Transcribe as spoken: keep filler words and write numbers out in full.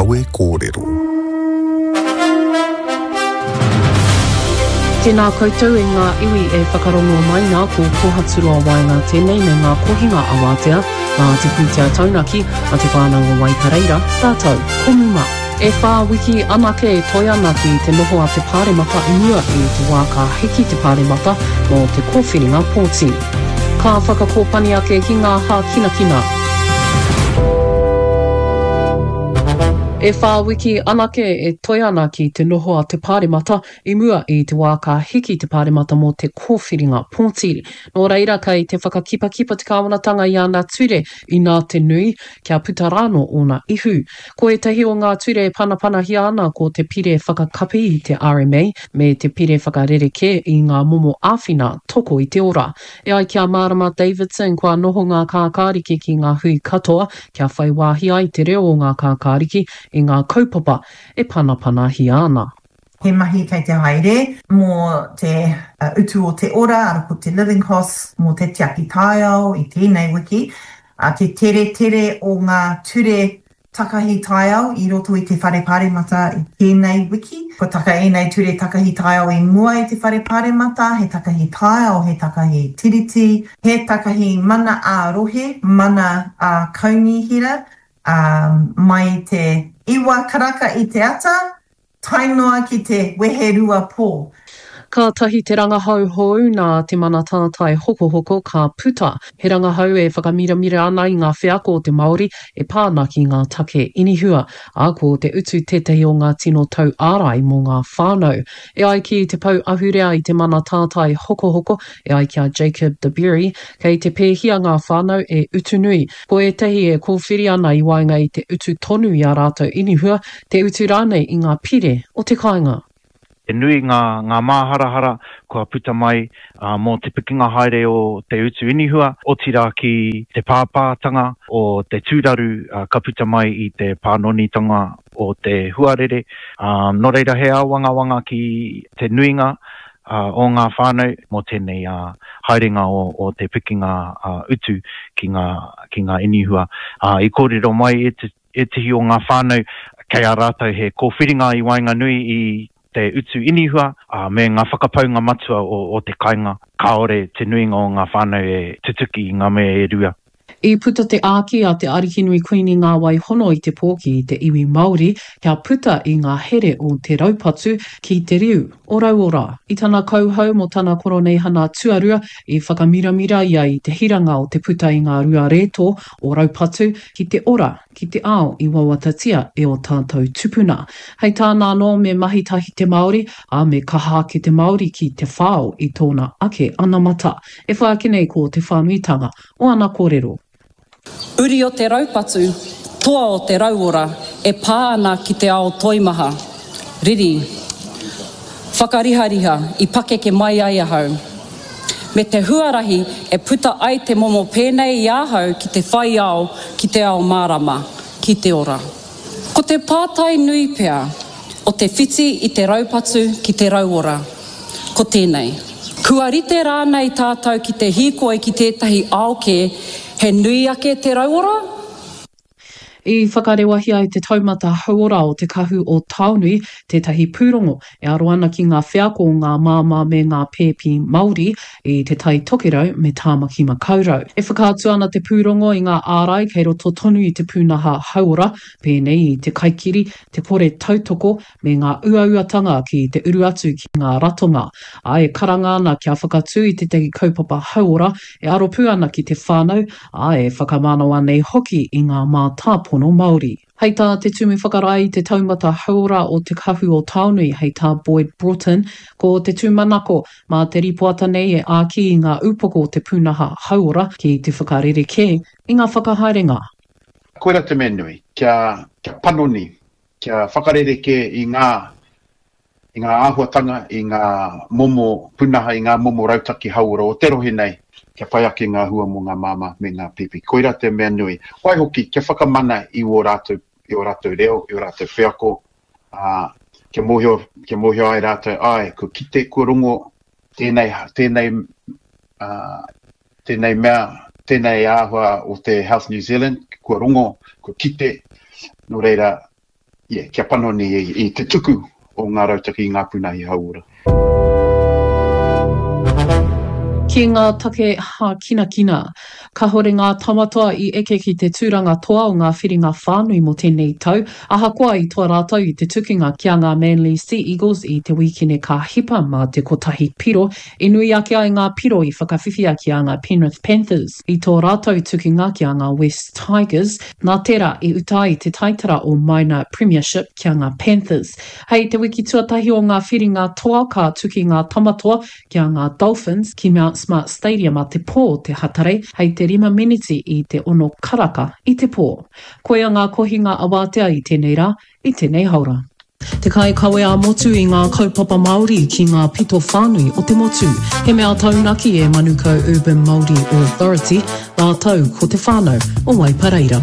Kawe Kōrero. Tēnā koutou e ngā iwi e whakarongo mai nā ko Kohaturoa Waenga tēnei me ngā kohinga awatea nā te pūtea taunaki a te whānau o Waipareira rātou ko Muma. E whā wiki anake e toe ana ki te noho a te Pāremata i mua i te wā ka hiki te Pāremata mō te kōwhiringa pōti. Ka whakakōpani ake ki ngā hākinakina. E whā wiki anake e toe ana ki te noho a te Pāremata i mua i te wā ka hiki te Pāremata mō te kōwhiringa pōti. Nō reira kei te whakakipakipa te kāwanatanga i ana ture inā te nui, kia puta rānō ōna ihu. Ko ētahi o ngā ture e panapanahia ana ko te Pire Whakakapi i te RMA me te Pire Whakarerekē i ngā momo āwhina toko i te ora. E ai ki a Marama Davidson kua noho ngā kākāriki ki ngā hui katoa kia whai wāhi ai te reo o ngā kākāriki i ngā kaupapa e panapanahia ana. He mahi kei te haere mō te utu o te ora, ara ko te living costs, mō te tiaki taiao i tēnei wiki, te teretere o ngā ture takahi taiao i roto i te whare pāremata i tēnei wiki. Kua taka ēnei ture takahi taiao i mua i te whare pāremata, he takahi taiao, he takahi tiriti, he takahi mana ā-rohe, mana ā-kaunihera, ā, mai i te iwa karaka i te ata, tae noa ki te weherua pō. Kātahi te rangahau hou nā te Mana Tātai Hokohoko ka puta, he rangahau e whakamiramira ana i ngā wheako o te Māori e pā ana ki ngā take inihua, ā, ko te utu tētahi o ngā tino tau ārai mō ngā whānau. E ai ki te pou ahurea i te Mana Tātai Hokohoko, e ai ki a Jacob de Bury, kei te pēhia ngā whānau e utu nui. Ko ētahi e kōwhiri ana i waenga i te utu tonu i ā rātou inihua, te utu rānei i ngā pire o te kāinga. He nui ngā, ngā māharahara kua puta mai mō te pikinga haere o te utu inihua, otirā ki te pāpātanga o te tūraru ka puta mai i te pānonitanga o te huarere. Nō reira he āwangawanga ki te nuinga o ngā whānau mō tēnei haerenga o te pikinga utu ki ngā, ki ngā inihua. I kōrero mai ētehi o ngā whānau kei a rātou he kōwhiringa i waenganui i te utu inihua, ā, me ngā whakapaunga matua o, o te kainga. Kāore te nuinga o ngā whānau e tutuki i ngā mea e rua. I puta te āki a Te Arikinui Kuini Ngā Waihono i te pō ki te iwi Māori kia puta i ngā here o te raupatu ki te riu o Rauora. I tana kauhau mō tana koroneihana tuarua, i whakamiramira ia i te hiranga o te puta i ngā rua rētō o raupatu ki te ora ki te ao i wawatatia e ō tātou tupuna. Hei tāna anō me mahi tahi te Māori, ā, me kaha ake te Māori ki te whao i tōna ake anamata. E whai ake nei ko te whānuitanga o ana kōrero. Uri o te raupatu, toa o te rauora e pā ana ki te ao toimaha, riri, whakarihariha i pakeke mai ai ahau. Me te huarahi e puta ai te momo pēnei i ahau ki te whai ao, ki te ao mārama, ki te ora. Ko te pātai nui pea o te whiti i te raupatu ki te rauora, ko tēnei. Kua rite rānei tātou ki te hīkoi ki tētahi ao kē, he nui ake te rauora? I whakarewahia e te Taumata Hauora o Te Kahu o Taonui tētahi pūrongo e aro ana ki ngā wheako o ngā māmā me ngā pēpi Māori i Te Tai Tokerau me Tāmaki Makaurau. E whakaatu ana te pūrongo i ngā ārai kei roto tonu i te pūnaha hauora, pēnei i te kaikiri, te kore tautoko me ngā uauatanga ki te uru atu ki ngā ratonga, ā, e karanga ana kia whakatū i tētahi kaupapa hauora e aro pū ana ki te whānau, ā, e whakamanawa nei hoki i ngā mātāpono Māori. Hei tā te Tumu Whakarae i te Taumata Hauora o Te Kahu o Taonui, hei tā Boyd Broughton, ko te tūmanako, mā te rīpoata nei e āki i ngā upoko o te pūnaha hauora ki te whakarerekē i ngā whakahaerenga. Koira te mea nui, kia, kia panoni, kia whakarerekē i ngā, i ngā āhuatanga, i ngā momo pūnaha, i ngā momo rautaki hauora o te rohe nei, kia whai ake ngā hua mō ngā māmā me ngā pēpi. Koirā te mea nui. Waihoki, kia whakamana i ō rātou, i ō rātou reo, i ō rātou wheako, ā, kia mōhio, kia mōhio ai rātou, āe, kua kite, kua rongo tēnei, tēnei, ā, tēnei mea, tēnei āhua o te Health New Zealand, kua rongo, kua kite, nō reira, yeah, kia panoni i, i te tuku o ngā rautaki i ngā pūnahi hauora. Ki ngā take hākinakina, kahore ngā Tamatoa i eke ki te tūranga toa o ngā whiringa whānui mō tēnei tau, ahakoa i toa rātou i te tukinga ki a ngā Manly Sea Eagles i te wīkene ka hipa mā te kotahi piro, i nui ake ai ngā piro i whakawhiwhia ki a ngā Penrith Panthers i tō rātou tukinga ki a ngā West Tigers, nā tērā i uta ai te taitara o Minor Premiership ki a ngā Panthers. Hei te wiki tuatahi o ngā whiringa toa ka tuki ngā Tamatoa ki a ngā Dolphins ki Mount Smart Stadium a te pō te Hatarei hei te rima meneti i te ono karaka i te pō. Koia ngā kohinga awātea i tēnei rā, i tēnei haora. Te kaikawe ā-motu i ngā kaupapa Māori ki ngā pito whānui o te motu. He mea taunaki e Manukau Urban Māori Authority rātou ko te whānau o Waipareira.